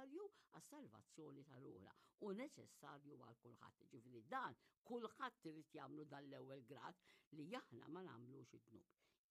neċessarju għas-salvazzjoni ta' ruħna u neċessarju għal kulħadd. Ġifieri dan kulħadd irid jagħmlu dan l-ewwel grad li aħna ma nagħmlux id-dnub.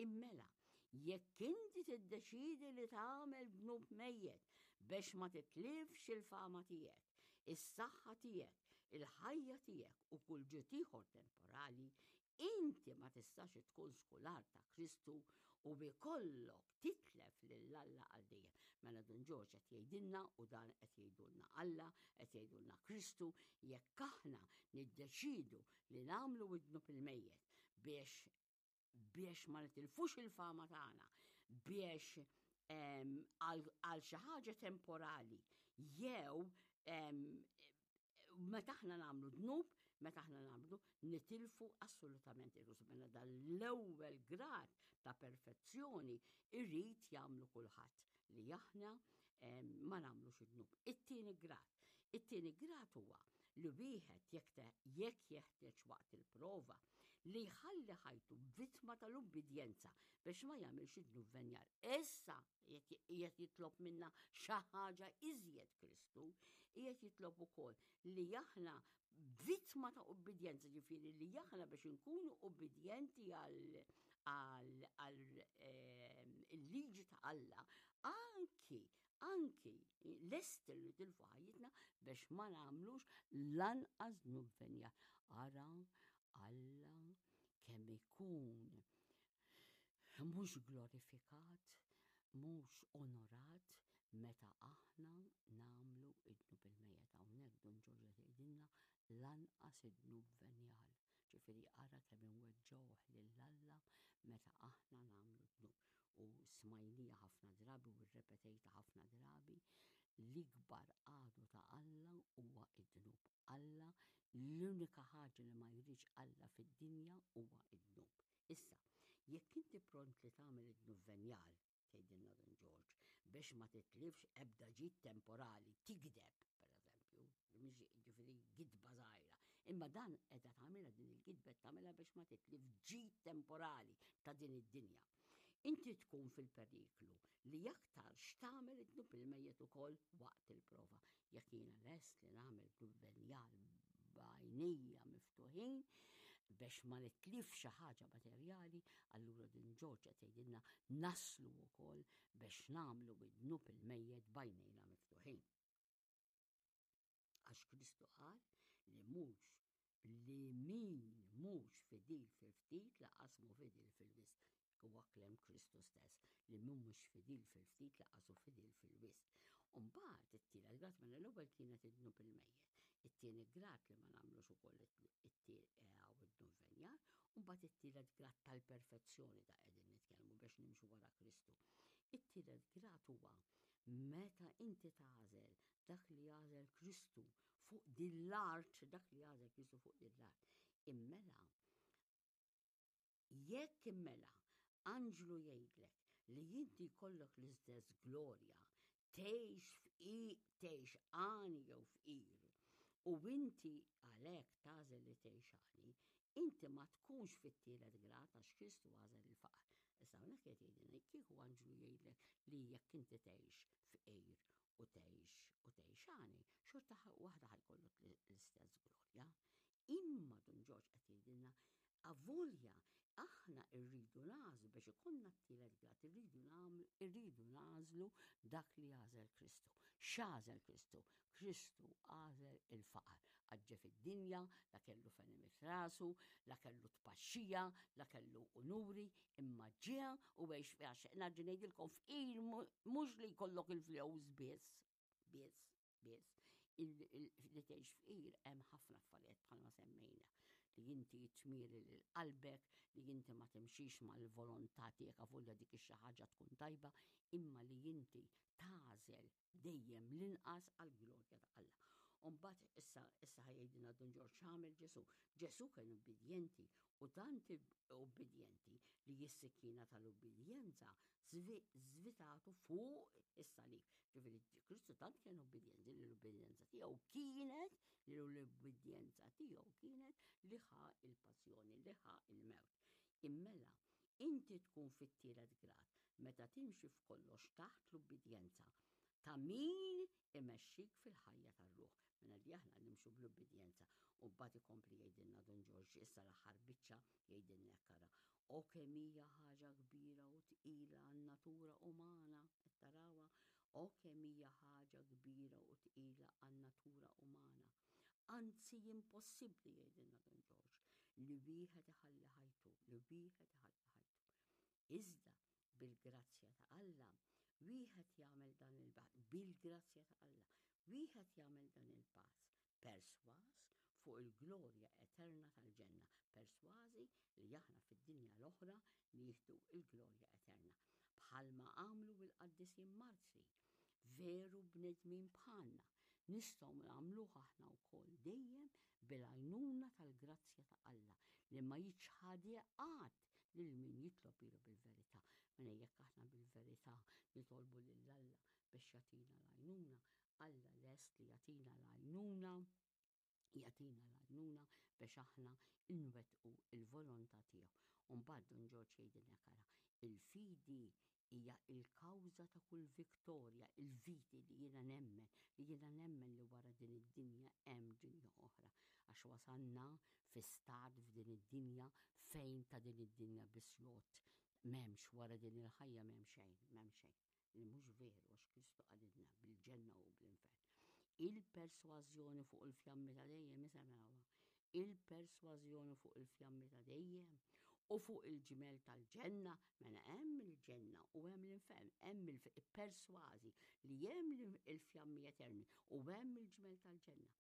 Immela, jekk inti tiddeċidi li tagħmel dnub mejjet biex ma titlifx il-fama tiegħek, is-saħħa tiegħek, il-ħajja tiegħek u kull ġid ieħor temporali, inti ma tistax tkun skular ta' Kristu u bi kollok titlef lil Alla għal dejjem. Mela Dun Ġorġ qed jgħidilna u dan qed jgħidulna Alla, qed jgħidulna Kristu, jekk aħna niddeċidu li nagħmlu id-dnub il-mejjet biex biex ma nitilfux il-fama tagħna, biex għal xi ħaġa temporali jew meta aħna nagħmlu dnub, meta aħna nagħmlu nitilfu assolutament il-rusu. Mela dan l-ewwel grad ta' perfezzjoni irrid jagħmlu kulħadd li aħna ma nagħmlux id-dnub. It-tieni grad. It-tieni grad huwa li wieħed jekk jekk jeħtieġ waqt il-prova li jħalli ħajtu vittma tal-ubbidjenza biex ma jagħmilx id-dnub venjar. Issa qiegħed jitlob minna xi ħaġa iżjed Kristu, qiegħed jitlob ukoll li aħna vittma ta' ubbidjenza, ġifieri li aħna biex inkunu ubbidjenti għal ehm, il-liġi ta' Alla, anki anki lest li tilfu ħajjitna biex ma nagħmlux lanqas dnub venja. Ara Alla kemm ikun mhux glorifikat, mhux onorat meta aħna nagħmlu id-dnub il-mejjet. Hawnhekk Dun Ġorġ qed jgħidilna lanqas id-dnub venjal. Ġifieri ara kemm inweġġgħuh lil Alla meta aħna nagħmlu dnub. U smajnija ħafna drabi u rrepetejta ħafna drabi l-ikbar għadu ta' Alla huwa id-dnub. Alla l-unika ħaġa li ma jridx Alla fid-dinja huwa id-dnub. Issa, jekk inti pront li tagħmel id-dnub venjal, tgħidilna Dun Ġorġ, biex ma titlifx ebda ġid temporali, tigdeb, per eżempju, mhix ġifieri gidba żgħira. Imma dan qiegħda tagħmilha din il-gidba tagħmilha biex ma titlif ġid temporali ta' din id-dinja. Inti tkun fil-periklu li aktar x'tagħmel id-dnub il-mejjet ukoll waqt il-prova. Jekk jiena lest li nagħmel dnub venjal b'għajnejja miftuħin biex ma nitlif xi ħaġa materjali, allura din Ġorġ qed jgħidilna naslu wkoll biex nagħmlu id-dnub il-mejjet b'għajnejna miftuħin. Għax Kristu qal li mhux li min mhux fidil fil-ftit laqas mhu fidil fil-wisq. Huwa klem Kristu stess li min mhux fidil fil-ftit laqas hu fidil fil-wisq. Umbagħad it-tielet grad mela l-ewwel kienet id-dnub il-mejjet. It-tieni grad li ma nagħmlux ukoll id-dnub venjar, u mbagħad it-tielet grad tal-perfezzjoni ta' qegħdin nitkellmu biex nimxu wara Kristu. It-tielet grad huwa meta inti tagħżel dak li għażel Kristu fuq din l-art, dak li għażel Kristu fuq din l-art. Immela, jekk immela, anġlu jgħidlek li inti jkollok l-istess glorja, tgħix fqi, tgħix għani jew fqir, u inti għalhekk tagħżel li tgħix għani, inti ma tkunx fit-tielet grad għax Kristu għażel il-faqar. Issa hawnhekk qed jgħidilna kieku anġlu jgħidlek li jekk inti tgħix fqir u tgħix u tgħix għani, xorta waħda ħajkollok l-istess glorja. Imma Dun Ġorġ qed jgħidilna avolja aħna rridu nagħżlu biex ikollna t-tielet grad, irridu nagħmlu, irridu nagħżlu dak li għażel Kristu. X'għażel Kristu? Kristu għażel il-faqar. Għaġġe fid-dinja, la kellu fenimit rasu, la kellu tpaxxija, la kellu unuri, imma ġie u għex fiha xejn. Nerġa' ngħidilkom fqir mhux li jkollok il-flus biss, biss, biss. Li tgħix fqir hemm ħafna affarijiet bħalma semmejna li inti tmiri lil qalbek, li inti ma timxix mal-volontà tiegħek avolja dik ix-xi ħaġa tkun tajba, imma li inti tagħżel dejjem l-inqas għall-glorja ta' Alla. Umbagħad issa issa ħajdina Dun Ġorġ x'għamel Ġesu. Ġesu kien ubbidjenti u tant ubbidjenti li s-sikkina tal-ubbidjenza zvitatu fuq is-salib. Ġifieri Kristu tant kien ubbidjenti li l-ubbidjenza tiegħu kienet li l-ubbidjenza tiegħu kienet li ħa il-passjoni, li ħa il-mewt. Immela, inti tkun fit-tielet grad meta timxi f'kollox taħt l-ubbidjenza ta' min imexxi. Imexxik fil-ħajja tar-ruħ. Mela li aħna nimxu bl-ubbidjenza. U mbagħad ikompli jgħidilna Dun Ġorġ issa l-aħħar biċċa jgħidilna hekk ara. O kemm hija ħaġa kbira u tqila għan-natura umana, qed tarawha? O kemm hija ħaġa kbira u tqila għan-natura umana. Anzi impossibbli jgħidilna Dun Ġorġ li wieħed iħalli ħajtu, li wieħed iħalli ħajtu. Iżda bil-grazzja ta' Alla, wieħed jagħmel dan il-pass, bil-grazzja ta' Alla, wieħed jagħmel dan il-pass, persważ fuq il-glorja eterna tal-ġenna, persważi li aħna fid-dinja l-oħra nieħdu l-glorja eterna, bħalma għamlu l-qaddisin martri, veru bnedmin bħalna, nistgħu nagħmluh aħna wkoll dejjem bil-għajnuna tal-grazzja ta' Alla li ma jiċħadha qatt lil min jitlob lilu bil-verità. Mela jekk aħna bil-verità nitolbu lil Alla biex jagħtina l-għajnuna, Alla lest li jagħtina l-għajnuna, jagħtina l-għajnuna biex aħna nwettqu l-volontà tiegħu. U mbagħad Dun Ġorġ jgħidilna ara, il-fidi hija l-kawża ta' kull viktorja, il-viti li jiena nemmen, li jiena nemmen li wara din id-dinja hemm dinja oħra. Għax wasalna fi stat f'din id-dinja fejn ta' din id-dinja biss jgħodd. M'hemmx wara din il-ħajja m'hemm xejn, m'hemm xejn. Li mhux veru għax Kristu qalilna bil-ġenna u bl-infern. Il-persważjoni fuq il-fjammi ta' dejjem isemgħuha. Il-persważjoni fuq il-fjammi ta' dejjem u fuq il-ġmel tal-ġenna, mela hemm il-ġenna u hemm l-infern, hemm il-persważi li hemm il-fjammi eterni u hemm il-ġmel tal-ġenna.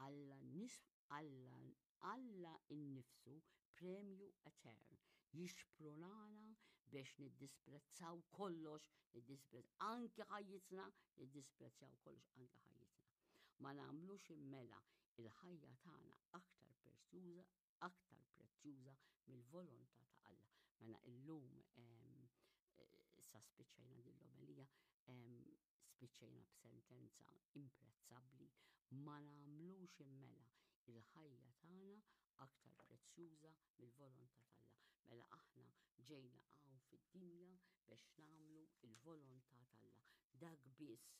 Alla nis Alla Alla innifsu premju etern jixprunana biex niddisprezzaw kollox, niddisprezz anki ħajjitna, niddisprezzaw kollox anki ħajjitna. Ma nagħmlux immela il-ħajja tagħna aktar prezzjuża, aktar prezzjuża mill-volontà ta' Alla. Mela illum issa spiċċajna din l-omelija, spiċċajna b'sentenza imprezzabbli, ma nagħmlux immela il-ħajja tagħna aktar prezzjuża mill-volontà t'Alla. Mela aħna ġejna hawn fid-dinja biex nagħmlu l-volontà t'Alla. Dak biss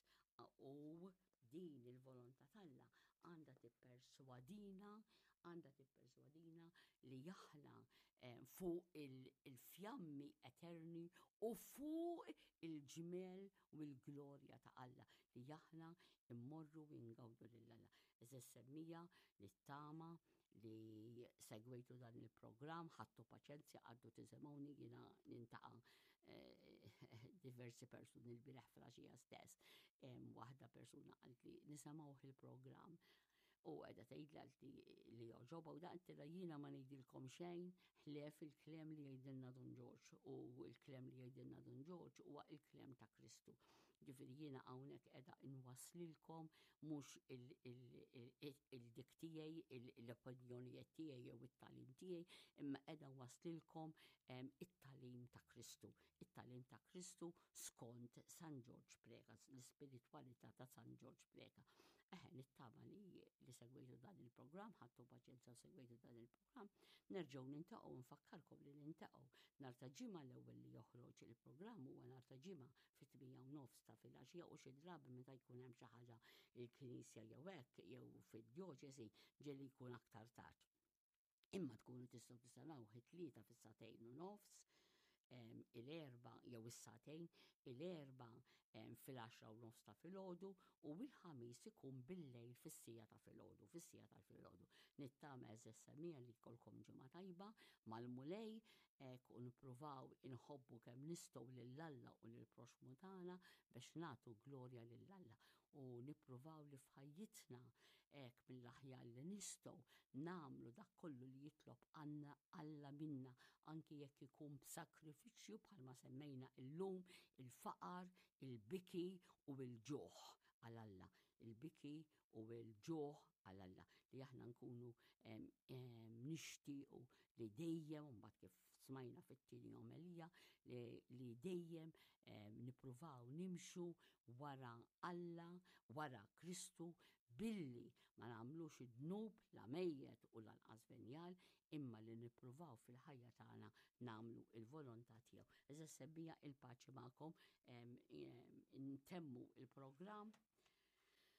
u din il-volontà t'Alla għandha tipperswadina, għandha tipperswadina li aħna eh, fuq il-fjammi eterni u fuq il-ġmel u l-glorja ta' Alla li aħna immorru u ngawdu lil Alla. Eżis semmija li tama li segwejtu dan il-programm, ħadtu paċenzja, għaddu tisimgħuni jiena nintaqa' eh, diversi persuni l-bireħ flaxija stess. Waħda persuna qaltli nisimgħuh il-programm u għedha tgħidli qaltli li joġoba u daqt jiena ma ngħidilkom xejn ħlief il-klem li jgħidilna Dun Ġorġ u l-klem li jgħidilna Dun Ġorġ huwa il-klem ta' Kristu. Ġifieri jiena hawnhekk qiegħda inwasslilkom mhux il-dik tiegħi, l-opinjonijiet tiegħi jew it-tagħlim tiegħi, imma qiegħda nwasslilkom it-tagħlim ta' Kristu. It-tagħlim ta' Kristu skont San Ġorġ Preca, l-ispiritwalità ta' San Ġorġ Preca. Eħe, nittama li li segwejtu dan il-programm, ħadtu paċenzja u segwejtu dan il-programm. Nerġgħu nintaqgħu nfakkarkom li nintaqgħu nhar ta' ġimgħa l-ewwel li joħroġ il-programm huwa nhar ta' ġimgħa fit-8 u nofs ta' filgħaxija u xi drabi meta jkun hemm xi ħaġa il-knisja jew hekk jew fid-djoċesi ġieli jkun aktar tard. Imma tkunu tistgħu tisimgħu it-tlieta fis-sagħtejn u nofs, il-erba jew is-sagħtejn, il-erba fil-10 u nofs ta' filgħodu u il-ħamis ikun bil-lejl fis-sija ta' filgħodu, fis-sija tal-filgħodu. Nittama eżess semija li jkollkom ġimgħa tajba mal-Mulej hekk u nippruvaw inħobbu kemm nistgħu lil Alla u lill-proxxmu tagħna biex nagħtu glorja lil Alla u nippruvaw li f'ħajjitna hekk mill-aħjar li nistgħu nagħmlu dak kollu li jitlob għandna Alla minna anki jekk ikun b'sakrifiċċju bħalma semmejna illum il-faqar, il-biki u l-ġuħ għal Alla. Il-biki u l-ġuħ għal Alla li aħna nkunu nixtiequ li dejjem mbagħad kif smajna fit-tieni omelija li dejjem nippruvaw nimxu wara Alla, wara Kristu billi ma nagħmlux id-dnub la mejjet u lanqas venjal imma li nippruvaw fil-ħajja tagħna nagħmlu il-volontà tiegħu. Eża sebbija il-paċi magħkom ntemmu il-programm.